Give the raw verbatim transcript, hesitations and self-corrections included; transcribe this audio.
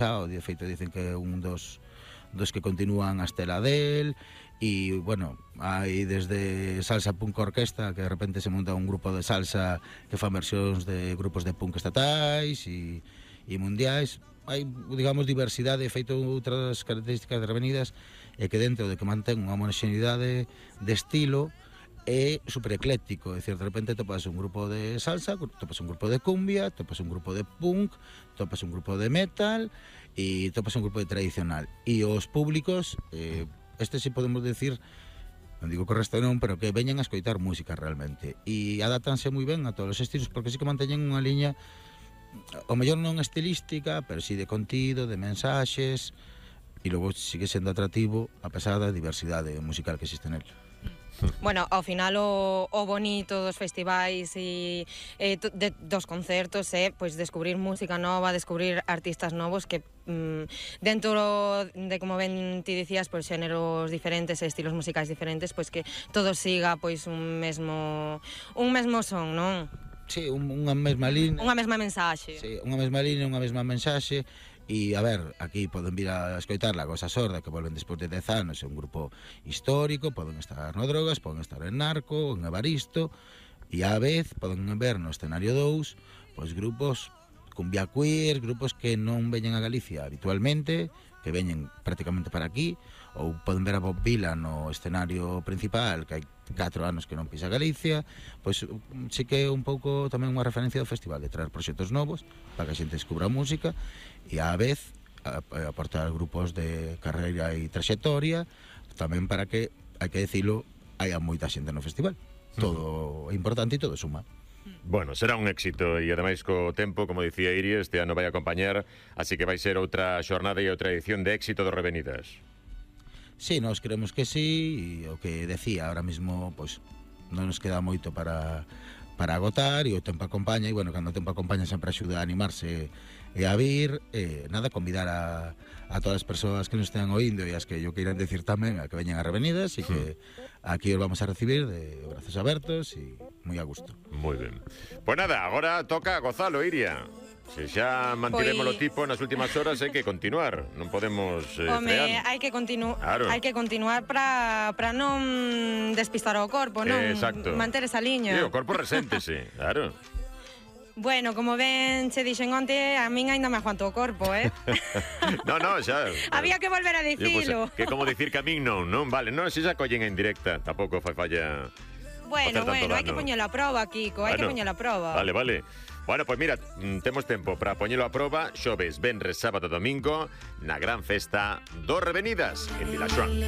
de feito dicen que é un dos dos que continúan a estela del. E, bueno, hai desde salsa punk orquesta, que de repente se monta un grupo de salsa que fan versións de grupos de punk estatais e, e mundiais. Hai, digamos, diversidade, feito outras características de Revenidas, e que dentro de que mantén unha homoxeneidade de estilo, é super ecléctico, é dicir, de repente topas un grupo de salsa, topas un grupo de cumbia, topas un grupo de punk, topas un grupo de metal e topas un grupo de tradicional. E os públicos, eh, este si podemos decir, non digo que o resto non, pero que veñen a escoitar música realmente, e adátanse moi ben a todos os estilos, porque sí que manteñen unha liña, o mellor non estilística, pero sí de contido, de mensaxes, e logo sigue sendo atractivo a pesar da diversidade musical que existe nel. Bueno, ao final o, o bonito dos festivais e, e de, dos concertos é pois descubrir música nova, descubrir artistas novos que mm, dentro de, como ben ti dicías, pois xéneros diferentes e estilos musicais diferentes, pois que todo siga pois un mesmo un mesmo son, non? Sí, un, unha mesma línea. Unha mesma mensaxe. Sí, unha mesma línea, unha mesma mensaxe. E, a ver, aquí poden vir a escoitar La Cosa Sorda, que volven despois de dez anos, é un grupo histórico, poden estar no Drogas, poden estar en Narco, en Evaristo, e á vez poden ver no escenario dous, pois grupos cumbia queer, grupos que non veñen a Galicia habitualmente, que veñen prácticamente para aquí, ou poden ver a Bob Vila no escenario principal, que hai catro anos que non pisa Galicia. Pois sí que é un pouco tamén unha referencia do festival, de traer proxectos novos para que a xente descubra a música e á vez aportar grupos de carreira e traxectoria tamén para que, hai que decilo, haya moita xente no festival. Todo é importante e todo suma. Bueno, será un éxito e ademais co tempo, como dicía Iria, este ano vai acompañar, así que vai ser outra xornada e outra edición de éxito do Revenidas. Sí, nós creemos que sí, e o que decía, ahora mismo pois non nos queda moito para para agotar e o tempo acompaña, e bueno, cando o tempo acompaña sempre axuda a animarse e a vir, e nada, convidar a, a todas as persoas que nos estean oíndo e as que yo queiran decir tamén a que veñan a Revenidas e que aquí os vamos a recibir de brazos abertos e moi a gusto. Moi ben. Pois nada, agora toca gozalo, Iria. Se xa mantivemos o tipo nas últimas horas, hai que continuar, non podemos eh, Home, frear. hai que continuar, claro. hai que continuar para para non despistar o corpo, non? Eh, exacto. Manter esa liña. Sí, o corpo reséntese, claro. Bueno, como ben che dixen onte, a min aínda me aguanto o corpo, eh? no, no, xa... Había que volver a dicilo. Pues, que como dicir que a min non, non? Vale, non, se xa collen en directa, tampouco fai falla... Bueno, bueno, hai que poñelo a proba, Kiko, hai bueno, que poñelo a proba. Vale, vale. Bueno, pois pues mira, temos tempo para poñelo a proba xoves, venres, sábado, domingo na gran festa do Revenidas en Vilaxoán.